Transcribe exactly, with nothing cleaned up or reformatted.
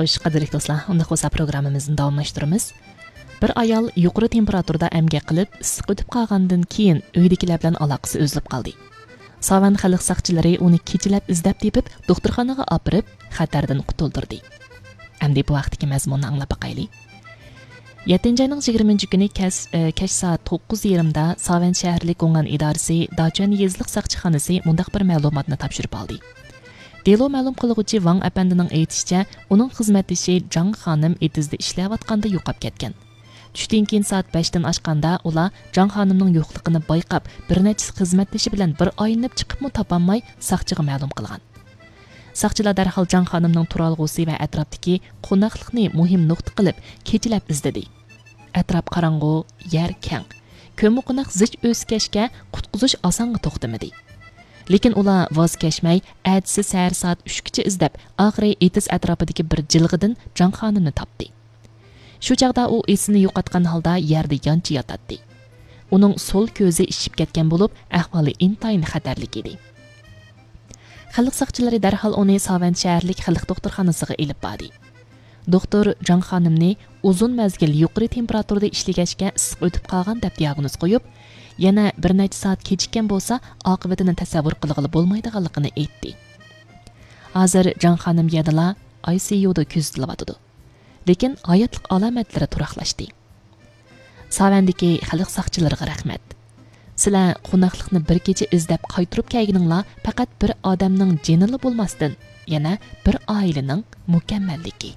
خوش، قەدىرلىك دوستلار، ئۇنداق بولسا پروگراممىمىزنى داۋاملاشتۇرىمىز. بىر ئايال يۇقىرى تېمپېراتۇرىدا ئەمگەك قىلىپ، ئىسسىق ئۆتۈپ قالغاندىن كېيىن ئۆيدىكىلەر بىلەن ئالاقىسى ئۈزۈلۈپ قالدى. ساۋەن خەلق ساقچىلىرى ئۇنى كېچىلەپ ئىزدەپ تېپىپ، دوختۇرخانىغا ئاپىرىپ، خەتەردىن قۇتۇلدۇردى. ئەمدى بۇ ھەقتىكى مەزمۇننى ئاڭلاپ باقايلى. يەتتىنچى ئاينىڭ يىگىرمىنچى كۈنى كەس-، ئە، كەچ سائەت توققۇز يېرىمدا ساۋەن شەھەرلىك گوڭئەن ئىدارىسى داچۈەن يېزىلىق ساقچىخانىسى مۇنداق بىر مەلۇماتنى تاپشۇرۇپ ئالدى. دېلو مەلۇم قىلغۇچى ۋاڭ ئەپەندىنىڭ ئېيتىشىچە، ئۇنىڭ خىزمەتدىشى جاڭ خانىم ئېتىزدا ئىشلەۋاتقاندا يوقاپ كەتكەن. چۈشتىن كېيىن سائەت بەشتىن ئاشقاندا ئۇلار جاڭ خانىمنىڭ يوقلۇقىنى بايقاپ، بىر نەچچىسى خىزمەتدىشى بىلەن بىر ئايلىنىپ چىقىپمۇ تاپالماي ساقچىغا مەلۇم قىلغان. ساقچىلار دەرھال جاڭ خانىمنىڭ تۇرالغۇسى ۋە ئەتراپتىكى قوناقلىقنى مۇھىم نۇقتا قىلىپ كېچىلەپ ئىزدىدى. ئەتراپ قاراڭغۇ، يەر كەڭ. كۆممىقوناق زىچ ئۆسكەچكە قۇتقۇزۇش ئاسانغا توختىمىدى. لېكىن ئۇلار ۋاز كەچمەي، ئەتىسى سەھەر سائەت ئۈچكىچە ئىزدەپ، ئاخىرى ئېتىز ئەتراپىدىكى بىر جىلغىدىن جاڭ خانىمنى تاپتى. شۇ چاغدا ئۇ ئېسىنى يوقاتقان ھالدا يەردە يانچە ياتاتتى. ئۇنىڭ سول كۆزى ئىششىپ كەتكەن بولۇپ، ئەھۋالى ئىنتايىن خەتەرلىك ئىدى. خەلق ساقچىلىرى دەرھال ئۇنى ساۋەن شەھەرلىك خەلق دوختۇرخانىسىغا ئېلىپ باردى. دوختۇر جاڭ خانىمنى ئۇزۇن مەزگىل يۇقىرى تېمپېراتۇرىدا ئىشلىگەچكە ئىسسىق ئۆتۈپ قالغان دەپ دىئاگنوز قويۇپ، يەنە بىر نەچچە سائەت كېچىككەن بولسا، ئاقىۋىتىنى تەسەۋۋۇر قىلغىلى بولمايدىغانلىقىنى ئېيتتى. ھازىر جاڭ خانىم يەدىلا ئاي سى يۇدا كۆزىتىلىۋاتىدۇ. لېكىن ھاياتلىق ئالامەتلىرى تۇراقلاشتى. ساۋەندىكى خەلق ساقچىلىرىغا رەھمەت. سىلەر قوناقلىقنى بىر كېچە ئىزدەپ قايتۇرۇپ كەلگىنىڭلار پەقەت بىر ئادەمنىڭ جېنىلا بولماستىن، يەنە بىر ئائىلىنىڭ مۇكەممەللىكى.